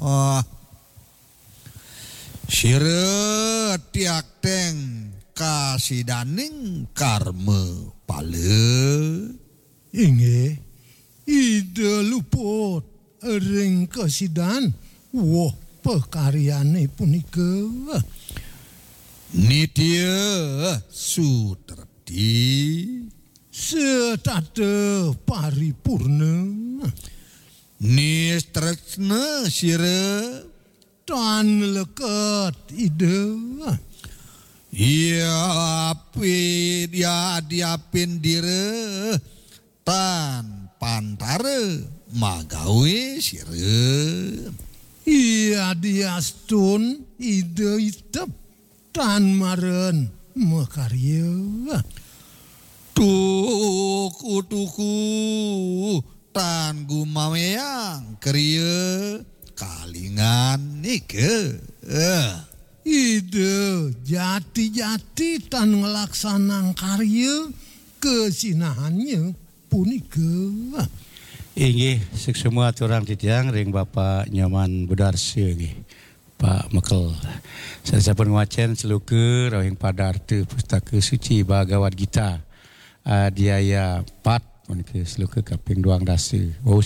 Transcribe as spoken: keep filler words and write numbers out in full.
Ah, sira tiakteng kasidaning karma pala. Inggih, Ida luput ring kasidan woh pakaryane punika. Nitya sutrepti. Setata paripurna. Nistresna sira. Tan leket Ida. Yapi, yadiapin dira tan pantara magawe sira. Yadiastun Ida itep tan maren makarya. Tuku-tuku tan gumaweang kriya kalingan nika. Ida jati-jati tan nglaksanang karya kasinahannya punika. Inggih, suksma aturang titiang ring Bapak Nyoman Budarsa nggih, Pak Mekel. Sané sampun ngwacén sloka rawuhing padarta Pustaka Suci Bhagavad Gita, Adhyaya pat, punika sloka kaping duang dasa. Wau